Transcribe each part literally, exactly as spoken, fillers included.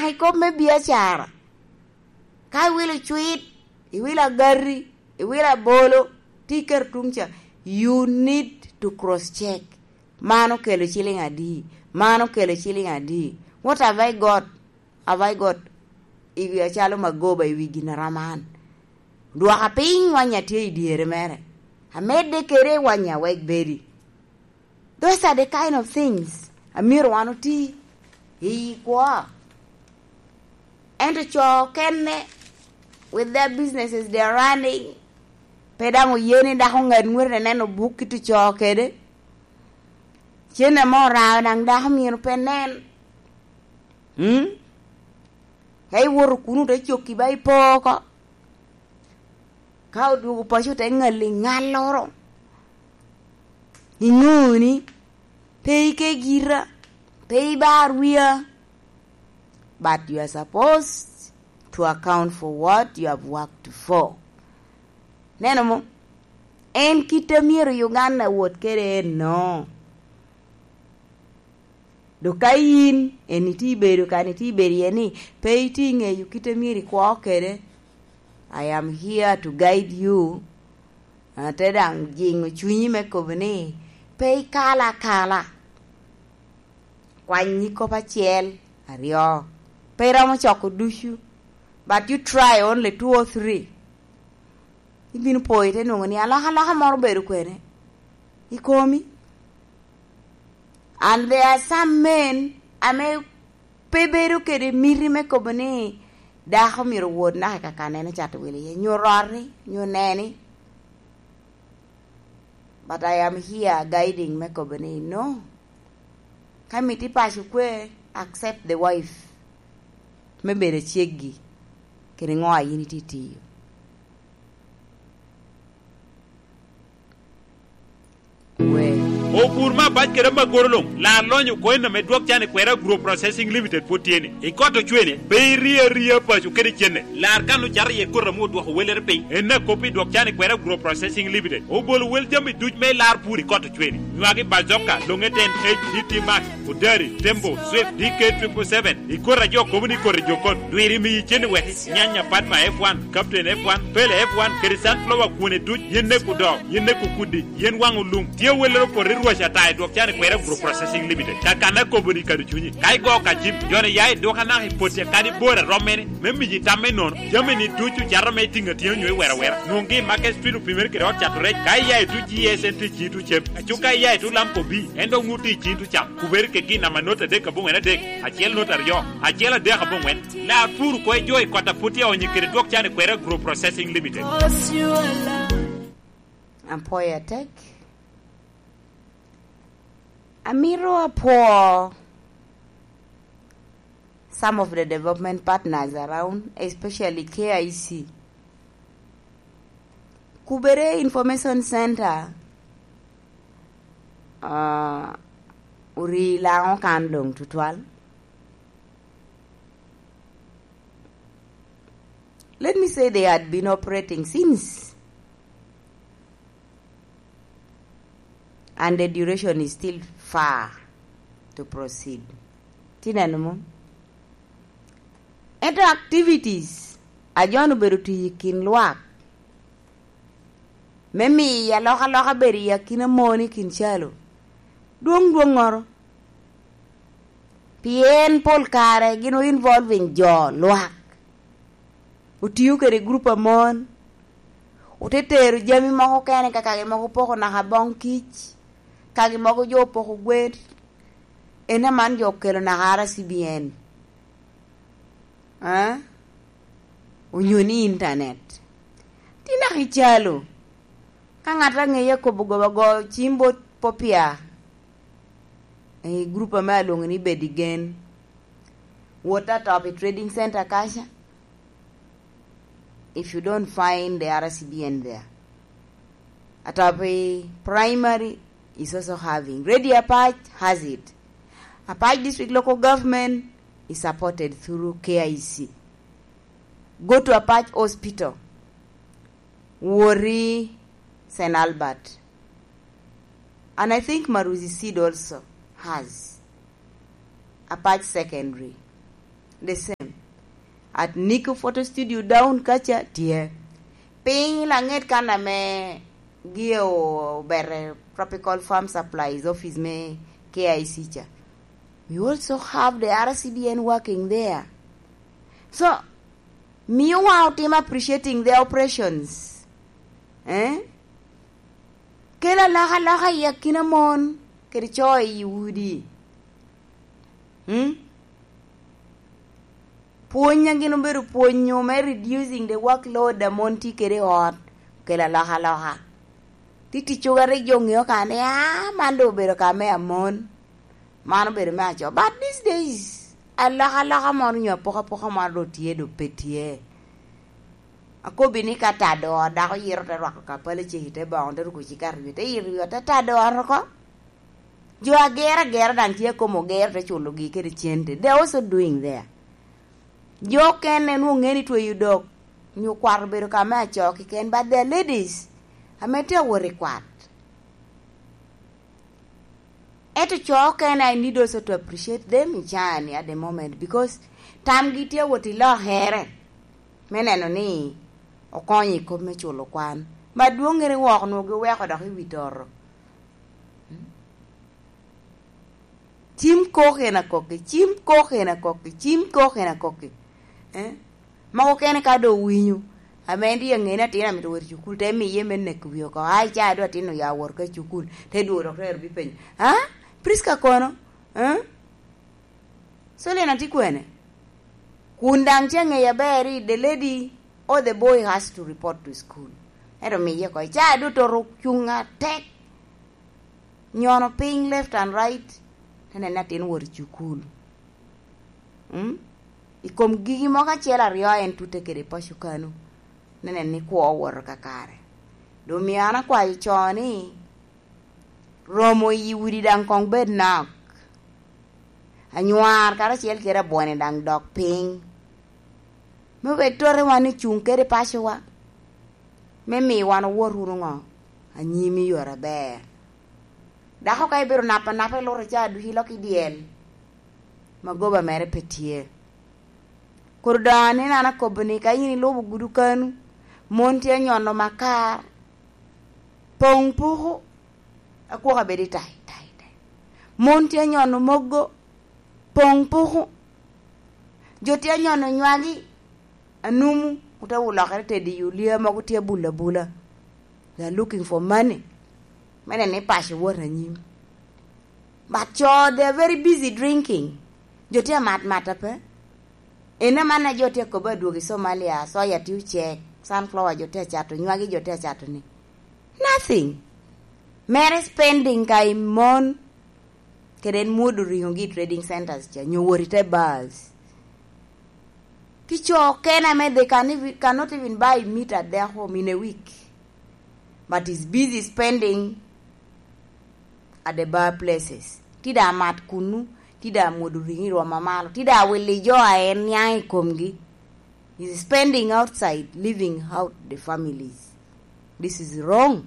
i kop me biacara. Ka iwilo cwit, iwilo agati, iwilo abolo, ti iketo tuŋ ca, you need to cross check. Man okelo ciliŋ adi? Man okelo ciliŋ adi? What have I got? Have I got i wi acalo magoba i wi gin a rom an? Dwoka piny wanya tye i dyere mere. Amedde kede wanya wek bedi. Those are the kind of things a myero wan oti i kwo. Ento co okene, with their businesses they are running, pe daŋ oye ni dako ŋat ŋwete neno buk kit oco kede. Cen ame orao daŋ dako myero pe nen. Mm? Ka iwoto kuno te cokki ba ipo oko. Ka odwogo paco te ŋalli ŋalloro. Iŋo ni pe ike gira, pe ibar wia. But you are supposed to account for what you have worked for. Neno mo? En kit a myero Uganda wot kede enno. Dok ka yin en itye ibedo kan itye ibedo iye ni pe itye iŋeyo kit a myero ikwo kede, I am here to guide you. Ate daŋ jiŋo cunyi me kobo ni pe ikalo akala. Kwany nyig kop acel, aryo. Pe iromo coko ducu, but you try only two or three. Ibino po ite nwoŋo ni alokaloka moro obedo kwene i komi. And there are some men ame pe bedo kede miti me kobo ni dako myero owot naka i kakanene cato wilo iye, nyo roti, nyo neni. But I am here guiding me kobo ni, no. Ka miti paco kwe, accept the wife me bedo ceggi, kede ŋo a yin itye tiyo. Wek. Obur me abac kede amagoro luŋ, lar lonyo oko en ame dwok can i kwera Agro Processing Limited pwod tye ni. I kot ocwene, pe irie aria paco kede cenne. Lar kan ocato iye koti ame odwoko wellere piny. En akop i dwok can i kwera Agro Processing Limited. Obolo wel jami duc me lar pur i kot ocwene. Nywagi bazoka, longe ten H, D T Max, Odari, Tembo, Swift, D K triple seven. I koti a jo kobo ni koti jokon. Dwiri miyi cen i weki. Nyanya Padma F one, Captain F one, Pele F one, kede sunflower kwone duc, yen nek odoo, yen nek okudi, yen waŋ olum. Tye awellere opoto i rwac ata i dwok can i kwera Agro Processing Limited. Kakanna kobo ni kado cunyi. Ka igo ka cim, joni ya i duka naka i potti kadi bor a rom mene, me miyi tam me nono. Jami ni ducu cato me tiŋ atinga nyo i wera wera. Nwoŋgi i Market Street opimere kede ot cato rec. Ka iya i tuc G S N T G two cem. Aco ka iya i tuc Lamco B, en dok ŋut i cin tuc cam. Kubere kegi namba not adek aboŋwen adek, acel not aryo, acel adek aboŋwen. Lar pur oko i jo i kot a pwod tye aonyo kede dwok can i kwera Agro Processing Limited. Apwoyo atek. Amito apwo some of the development partners around, especially K I C. Kubere Information Center, uh, ori laŋo kan doŋ tutwal. Let me say they had been operating since, and the duration is still far to proceed. Tineno mo? Ento activities a jo obedo tiyo i kin lwak me miyo alokaloka bedo i akina mon i kin calo dwoŋ dwoŋŋoro. Pien pol kare gin o involving jo lwak. Otio kede grup a mon. Ote tero jami moko kene ka kagi mogo poko naka boŋ kic. Kagi mogo jo opoko gwen. En aman jo okelo naka R C B N. Ah? Onyo ni internet. Ti naka i calo. Ka ŋat aŋeye akobo goba go cim bot Popia. I grup ame alwoŋo ni Bed i Gen. Wot atop i Trading Center kaca. If you don't find the R C B N there. Atop i primary is also having. Radio Apac has it. Apac District Local Government is supported through K I C. Go to Apac Hospital. Wori Saint Albert. And I think Maruzi Seed also has Apac Secondary. The same. At Nico Photo Studio down kaca tye. Piny laŋet kan ame gio obere Tropical Farm Supplies office me K I C ca. We also have the R C B N working there. So, miyo wa otim appreciating the operations. Eh? Kelo alokaloka i akina mon kede co i udi. Hmm? Pwony a gin obedo pwonyo me reducing the workload a mon tye kede i ot, okelo alokaloka. Ti ticcogo a rik jo ŋeo ka ni, "Ah, man doŋ obedo ka me amon." Man obedo me aco. But these days, alokaloka moro nyo apokapoka moro doŋ tye, doŋ pe tye. Akobbi ni ka tado ot, dako yito te rwako kapala ceki te boŋo, te ruko cikato i wiye, te yito i wi ot, te tado ot oko. Jo agero agera daŋ tye a komo ogero, te culogi kede cente. They are also doing there. Jo okene nwoŋo ŋe ni tweyo dok, nyo kwat obedo ka me aco keken, but there are ladies ame tye awot i kwat. Ento co okene, I need also to appreciate them i caa-ni at the moment, because tamgi tye awot i lokere me neno ni okonyo i kop me culo kwan. Ma dwoŋŋere wok onwoŋo giweko dok i wi toto. Cim kok en akokki, cim kok en akokki, cim kok en akokki. Eh? Mogo kene ka doŋ owinyo, ame en tye aŋe ni atin amito wot i cukul, te miye me neko wi oko. Ai, ca dwe atin oya wot ka i cukul, te dwogo dok te ero bipenyo, "Ah, Prisca kono? Eh? Solina tye kwene?" Kun daŋ tye aŋeyo aber ni the lady or the boy has to report to school. Ento miye oko, ca dwe toto ocuŋ atek. Nyono piny left and right, te neno ni atin wot i cukul. Mm? I kom gigi mogo acel aryo a en tutte kede paco kanu, te neno ni kwo owoto kakare. Doŋ omio an akwayo co ni, romo i udi daŋ koŋ bed nok. Anywar karacel kede abwone daŋ dok piny. Me obed tote wan i cuŋ kede pacowa, me mi wan owot wunu ŋo? Anyim i yore aber. Dako ka ibedo napanapa i lute ca ducu ilok i dyel, magoba mere pe tye. Kor doŋ aneno an akobo ni ka in ilubo gudu kanu, mon tye anyono makar, poŋ puku, akwok abedo i tai, tai, tai. Mon tye anyono mogo, poŋ puku. Jo tye anyono nywagi, anumu, ote olokere tedi i olia mogo tye abula abula. They are looking for money. Me neno ni paco wot anyim. But co, they are very busy drinking. Jo tye amat mata pe. En amanna jo tye akobo adwogo i Somalia, soya tye ocek, sunflower jo tye acato, nywagi jo tye acato ni. Nothing. Mere spending ka i mon, kede en mwodo riŋo gi i trading centers ca, nyo wot i te bars. Ki co okene ame they can even, cannot even buy meat at their home in a week. But is busy spending at the bar places. Ti da mat kunu, ti da mwodo riŋo i rwom amalo, ti da wili jo a en niaŋ i komgi. Is spending outside, leaving out the families. This is wrong.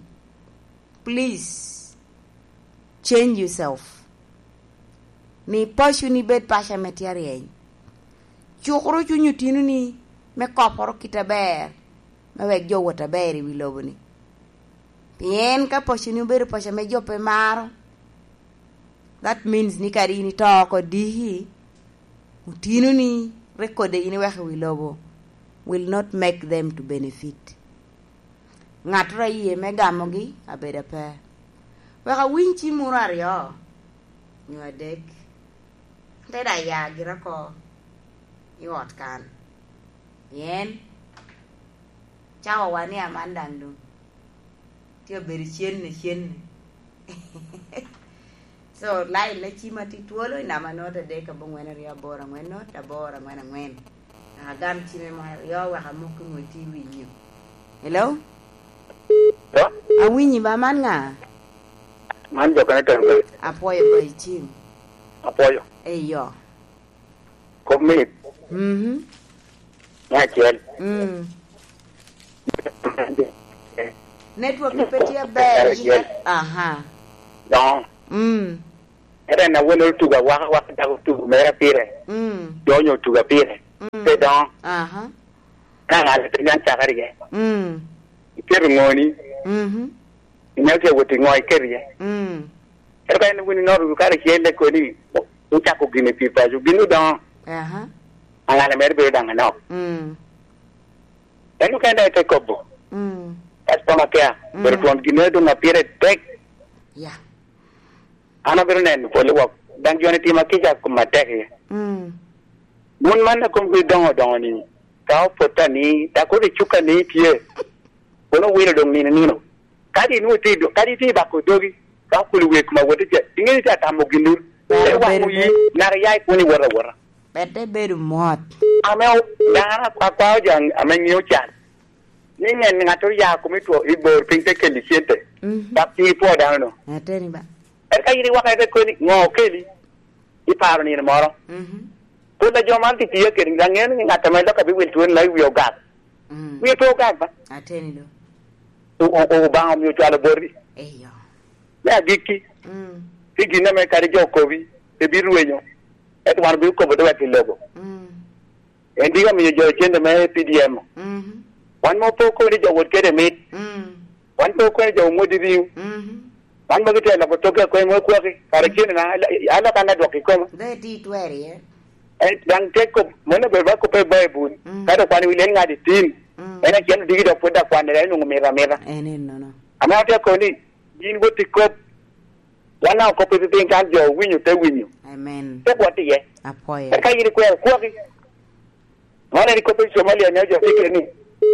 Please, change yourself. Mi paconi bed paco ame tye aryeny. Cukuru cuny otinoni me koporo kit aber, me wek jo wot aber i wi lobo-ni. Pien ka paconi obedo paco ame jo pe maro, that means ni kadi in ito oko diki, otinoni rik kode in iweko i wi lobo will not make them to benefit. Ŋattoro aye me gamogi abedo ape. Wek awiny cim wunu aryo, nyo adek, te da ya gira oko i ot kan. Pien cawawa ni aman daŋ doŋ tye obedo cenne, cenne. So, line me cim atye twolo i namba not adek aboŋwen aryo aboro aŋwen not aboro aŋwen aŋwen. Agam cime mo aryo wek amok i ŋwec i winyo. Hello? Hello? Awinyi ba, man ŋa? Man jo kene tenge. Apwoyo ba i cim. Apwoyo. Eyo. Kop mit. Mhm. Me acel. Mm. Network pe tye ber. Acel. Aha. Doŋo. Mm. Ere na wene otugo awaka waka dako otugo mere pire. Mm. Donyo otugo pire. Mm. Pe doŋo. Aha. Ka ŋat pe nyan cakere iye. Mm. Iketo ŋoni. Mhm. Inyalo tye wot i ŋo iketo iye. Mm. Ento ka en wun inoto kare acel, en koni, wucako gin i pi paco, gin odoŋo. Aha. Aŋala mere bedo daŋ anok. Mm. En okene daŋ ite kobo. Mm. Customer care, mm, pero twon gin doŋ a pire tek. Ya. An abino neno polo wok, daŋ jo-ni tima kica kom atek iye. Mm. Wun man a komgi doŋo doŋo ni, ka opot ani, dako ri cuka ni tye, kono wilo doŋ nino nino. Kadi inwoŋo itye i do-, kadi itye i bako dogi, ka okuli wer koma wot ice, iŋeo ni tye atamo ginwu. Ero waŋ oyi, naka ya i kun iwot awota. Pede bedo mot. Ame o-, daŋ an ak-, akwao jo ame ŋeo can. Ni ŋen ŋattoro ya kome i two, i bor piny te keli cente. Mhm. Dok piny ipwo dano no. Ateni ba. Eka in iwaka ite koni, ŋo okeli? Iparo nino moro. Mhm. Pol a jo man tye tiyo kede, daŋ ŋeo ni ŋat ame lok abiwil twoni na i wi ogak. Mm. Wie pe ogak ba. Ateni do. O-, o-, o-, Obaŋa omio cwalo boti. Eyo. Me agikki. Mm. Pi gin ame kadi jo okobi, pe birwenyo. Ento wan obikobo dogwa pi lobo. Mm. En diki omiyo jo cente me P D M. Mhm. Wan mo pe okobo ni jo wot kede mit. Mm. Wan pe okobo ni jo omwodi riu. Mhm. Wan mo gitye loko toke akoy mo kwaki. Kara cene na, ala, ala kan adwok i koma. Dong iti twer iye. Eh, daŋ te kop, mano obedo ba koppe i Baibul. Mm. Ka dok kwan i wi lel ŋat i tim. Mm. En acel odiki dok pwod akwanne, en onwoŋo mito amita. En ennono. Ame atye koni, yin wot i kop. Wan daŋ okop i piny kan jo owinyo, te winyo. Amen. Te bwot iye. Apwoyo. Eka yin ikwero kwaki. Wan en ikop i Somalia ne jo tye keni.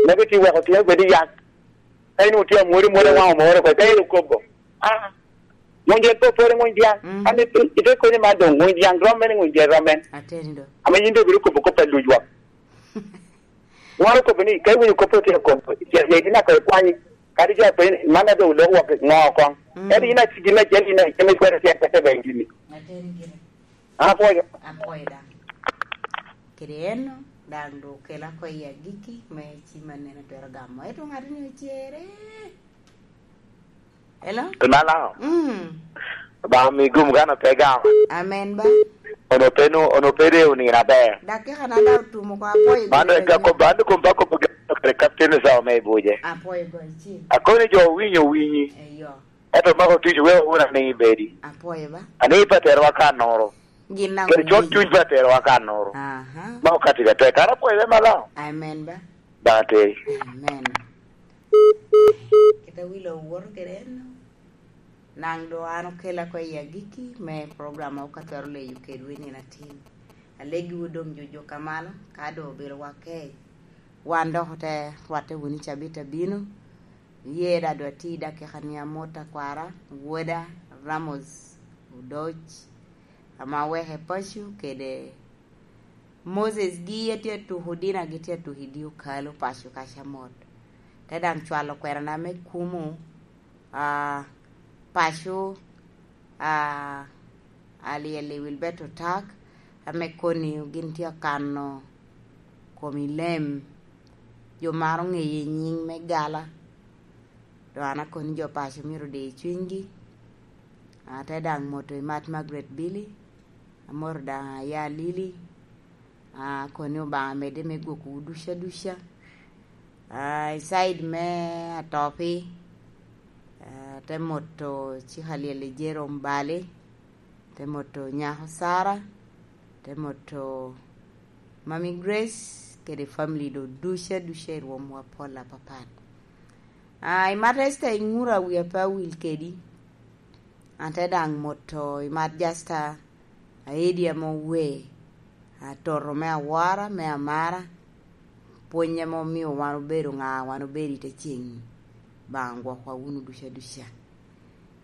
Mego ti weko tye bedo i yak. Ka in otye amwori, mwori waŋ omoro ko, ka in okobo. Ah. Ŋuny jen pe opore ŋuny diaŋ. Mm. An ite, ite konyo man doŋ ŋuny diaŋ rom mene ŋuny jen rom men. Ateni do. Ame yin doŋ ibino kobo kop a luc wok. Ŋwaro kobo ni, ka iwinyo kop otye kobo, icel yec inaka ikwanyi. Kadi jo apenyi, man a doŋ oloko wok ŋo koŋ. Mm. Ento yin aci gin acel, yin acel ikwero tye akete ben gini. Ateni gini. An apwoyo. Apwoyo daŋ. Kede eno, daŋ doŋ okela oko i agikki me cim anene twero gamo. Ento ŋato ni ocere. Hello? Pi Malaŋo? Mm. Obaŋa mi gum kan ote gamo. Amen ba. Ono pe nu-, ono pe rewo nino aber. Dakika na daŋ otumo ko, apwoyo. Man gire en ka gire. Kop, an kom ba kop kede kapten i sawa me ibuje. Apwoyo ba, icil. Akoni jo owinyo owinyi. Eyo. Ento mako tic weko wun aniŋ ibedi. Apwoyo ba. Aniŋ ipaterwa ka noro. Gin daŋ kede cwak omiyo. Cuny pa aterowa ka noro. Aha. Ma okatti ka tek. Kara pwoyo me Malaŋo. Amen ba. Daŋ ateri. Amen. Kit a wilo owoto kede en, naŋ doŋ an okela oko i agikki me program a ok atwero leyo kedwu i nino atin. Alegiwu doŋ jujuk amalo, ka doŋ obedo wa kec, wan dok ote rwatte wunu i cabit abino. Ye da dwa ti dakika ni amot akwara, woda Ramos Odoc, ame aweke paco kede Moses gi atye atuko, Dina gi tye atuko i dye okalo paco kaca mot. Te daŋ cwalo kwerana me kumo, ah, paco, ah, Alyel i Wilberto Tak, ame koni gin tye akano kom i lem. Jo maro ŋeye i nyiŋ me gala. Doŋ an akoni jo paco myero odi i cwinygi. Ate daŋ moto i mat Margaret Billy, amoto daŋ aya Lili. Ah, koni Obaŋa medde me gwokkowu duca duca. Ah, i side me Atopi, ah, te moto cik Alyel i Jerome Bali, te moto nyako Sara, te moto Mami Grace, kede family do duca duca i rwomwa pol apapat. Ah, i mat Esther Iŋura wi ape awil kedi. An te daŋ moto i mat Jasta Aedi ame owe, atoto me awora, me amara, pwony ame omio wan obedo ŋa wan obedo i te ceŋ-ni. Obaŋa gwokwa wunu duca duca.